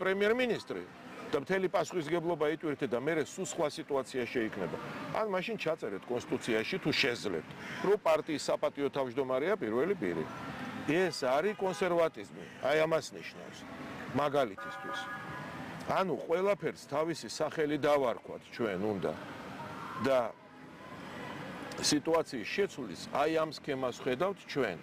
პრემიერ-მინისტრი და მთელი პასუხისგებლობა იტვირთე და მე სულ სხვა სიტუაცია შეიქმნება. ან მაშინ ჩაწერეთ კონსტიტუციაში თუ შეძლებთ, რომ პარტიის საპატიო თავმჯდომარეა პირველი პირი. ეს არის კონსერვატიზმი, აი ამას ნიშნავს. მაგალითისთვის. ანუ ყველაფერს თავისი სახელი დავარქვათ ჩვენ უნდა და სიტუაციის შეცვლის აი ამ სქემას ხედავთ ჩვენ.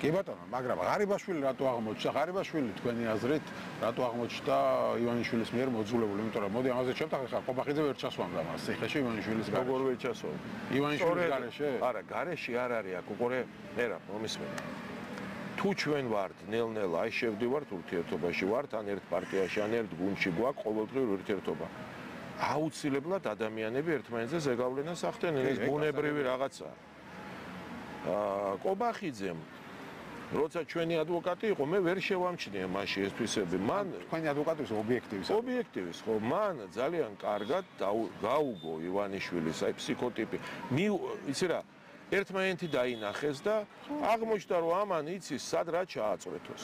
კი ბატონო, მაგრამ ღარიბაშვილი რატო აღმოჩნდა? ღარიბაშვილი თქვენი აზრით რატო აღმოჩნდა ივანიშვილის მიერ მოძულებული? იმიტომ რომ მოდი ამაზე შევთანხმდით, ხა ყობახიძე ვერ ჩასვამდა მას ციხეში ივანიშვილის გარეშე. როგორ ვერ ჩასვამდა? ივანიშვილის გარეშე? არა, გარეშე არ არის აქ, უყურე, მერა, მომისმენთ. თუ ჩვენ ვართ ნელ-ნელა, აი შევდივართ ურთიერთობაში, ვართ ან ერთ პარტიაში, ან ერთ გუნდში, გვაქვს ყოველდღიური ურთიერთობა. აუცილებლად ადამიანები ერთმანეთზე ზეგავლენას ახდენენ, ეს ბუნებრივი რაღაცაა. ყობახიძემ როცა ჩვენი ადვოკატი იყო, მე ვერ შევამჩნია მაშინ ეს თვისები. მან თქვენი ადვოკატი ობიექტივის. ობიექტივის, ხო, მან ძალიან კარგად გაუგო ივანიშვილის აი ფსიქოტიპი. იცი რა, ერთმანეთი დაინახეს და აღმოჩნდა რომ ამან იცის სად რა ჩააწვეთოს.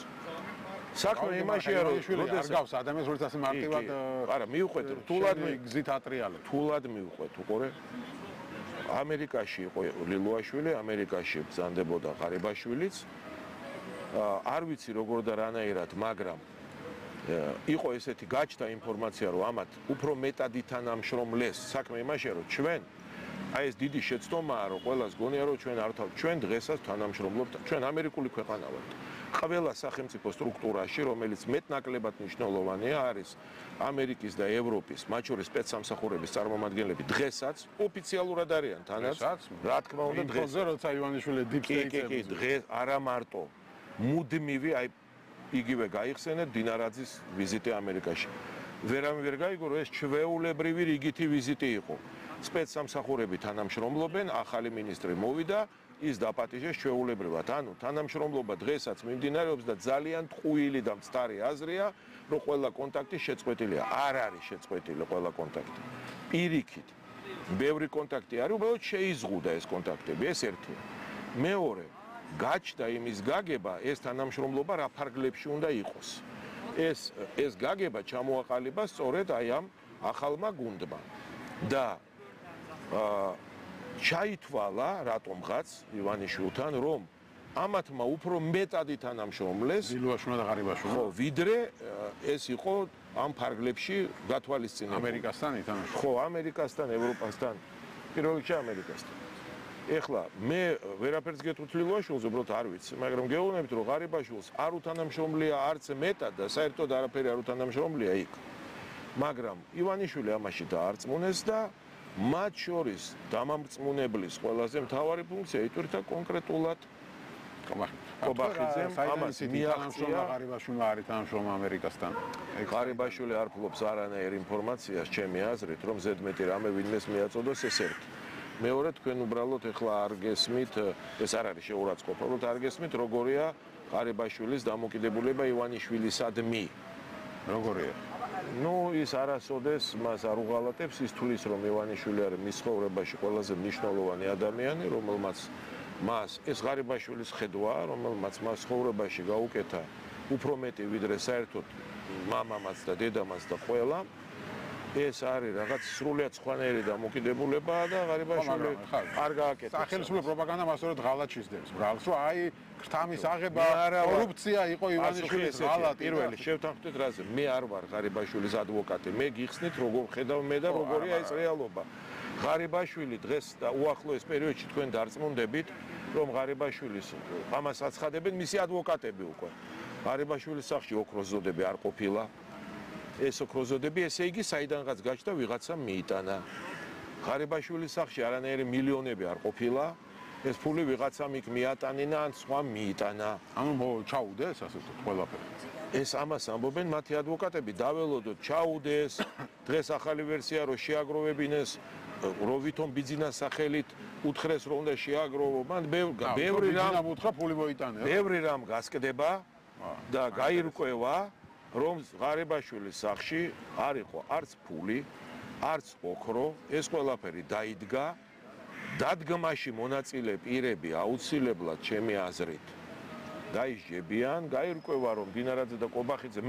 საქმე იმაშია რომ არ გავს ადამიანს როგორც ასე მარტივად არა მივხვეთ რთულად გზით ატრიალებს. რთულად მივხვეთ, უყურე. ამერიკაში იყო ლილუაშვილი, ამერიკაში ბრძანდებოდა ღარიბაშვილიც. არ ვიცი როგორ და რანაირად, მაგრამ იყო ესეთი გაჩნდა ინფორმაცია, რომ ამათ უფრო მეტად ითანამშრომლეს. საქმე იმაშია, რომ ჩვენ აი ეს დიდი შეცდომაა, რომ ყველას გონია, რომ ჩვენ არ ჩვენ დღესაც თანამშრომლობთ. ჩვენ ამერიკული ქვეყანა ვართ. ყველა სახელმწიფო სტრუქტურაში, რომელიც მეტნაკლებად მნიშვნელოვანია, არის ამერიკის და ევროპის, მათ შორის სპეცსამსახურების წარმომადგენლები დღესაც ოფიციალურად არიან თანაც. რა თქმა უნდა, დღეს როცა ივანიშვილი deep state-ზე კი, დღეს არა მარტო მუდმივი აი იგივე გაიხსენეთ დინარაძის ვიზიტი ამერიკაში. ვერავინ ვერ გაიგო, რომ ეს ჩვეულებრივი რიგითი ვიზიტი იყო. სპეცსამსახურები თანამშრომლობენ, ახალი მინისტრი მოვიდა, ის დაპატიჟეს ჩვეულებრივად. ანუ თანამშრომლობა დღესაც მიმდინარეობს და ძალიან ტყუილი და მწდარი აზრია, რომ ყველა კონტაქტი შეწყვეტილია. არ არის შეწყვეტილი ყველა კონტაქტი. პირიქით, ბევრი კონტაქტი არის, უბრალოდ შეიზღუდა ეს კონტაქტები, ეს ერთია. მეორე, გაჩნდა იმის გაგება, ეს თანამშრომლობა რა ფარგლებში უნდა იყოს. ეს გაგება ჩამოაყალიბა სწორედ აი ამ ახალმა გუნდმა. და ჩაითვალა რატომღაც ივანიშვილთან, რომ ამათმა უფრო მეტად ითანამშრომლეს ლილუაშვილი და ღარიბაშვილი. ხო, ვიდრე ეს იყო ამ ფარგლებში გათვალისწინებული. ამერიკასთან ითანამშრომლეს. ხო, ამერიკასთან, ევროპასთან, პირველ რიგში ამერიკასთან. ეხლა მე ვერაფერს გეტყვით ლილუაშვილს, უბრალოდ არ ვიცი, მაგრამ გეუბნებით, რომ ღარიბაშვილს არ უთანამშრომლია არც მეტად და საერთოდ არაფერი არ უთანამშრომლია იქ. მაგრამ ივანიშვილი ამაში დაარწმუნეს და მათ შორის დამამწმუნებლის ყველაზე მთავარი ფუნქცია იტვირთა კონკრეტულად ყობახიძემ ამას მიაღწია. ღარიბაშვილი არ ითანამშრომლა ამერიკასთან. ღარიბაშვილი არ ფლობს არანაირ ინფორმაციას, ჩემი აზრით, რომ ზედმეტი რამე ვინმეს მიაწოდოს ეს ერთი. მეორე, თქვენ უბრალოდ ეხლა არ გესმით, ეს არ არის შეურაცხყოფა, უბრალოდ არ გესმით, როგორია ღარიბაშვილის დამოკიდებულება ივანიშვილისადმი. როგორია? ნუ ის არასოდეს მას არ უღალატებს, ის თulis რომ ივანიშვილი არის მის ცხოვრებაში ყველაზე მნიშვნელოვანი ადამიანი, რომელმაც მას ეს ღარიბაშვილის ხედვაა, რომელმაც მას ცხოვრებაში გაუკეთა უფრო მეტი ვიდრე საერთოდ მამამაც და დედამაც და ყველა. ეს არის რაღაც სრულიად სხვანაირი დამოკიდებულებაა და ღარიბაშვილი არ გააკეთა. სახელმწიფო პროპაგანდა მასწორედ ღალატ შეძდებს. ბრალს რომ აი ქრთამის აღება კორუფცია იყო ივანიშვილის ღალატი. პირველი შევთანხმდით რაზე, მე არ ვარ ღარიბაშვილის ადვოკატი. მე გიხსნით როგორ ხედავ მე და როგორია ეს რეალობა. ღარიბაშვილი დღეს და უახლოეს პერიოდში თქვენ დარწმუნდებით, რომ ღარიბაშვილის ამას აცხადებენ მისი ადვოკატები უკვე. ღარიბაშვილის სახლში ოქროს ზოდები არ ყოფილა. ეს ოქროს ზოდები, ესე იგი, საიდანღაც გაჩნდა ვიღაცამ მიიტანა. ღარიბაშვილის სახლში არანაირი მილიონები არ ყოფილა. ეს ფული ვიღაცამ იქ მიატანინა ან სხვა მიიტანა. ანუ ჩაუდეს ასე ვთქვათ ყველაფერი. ეს ამას ამბობენ მათი ადვოკატები, დაველოდოთ, ჩაუდეს. დღეს ახალი ვერსია რომ შეაგროვებინეს, რომ ვითომ ბიძინას სახელით უთხრეს რომ უნდა შეაგროვო. მან ბევრი რამ უთხრა ფული მოიტანა. ბევრი რამ გასკდება და გაირკვევა. რომ ღარიბაშვილის სახლში არ იყო არც ფული, არც ოქრო, ეს ყველაფერი დაიდგა. დადგმაში მონაწილე პირები აუცილებლად ჩემი აზრით დაიჯებიან, გაირკვევა რომ დინარაძე და ყობახიძე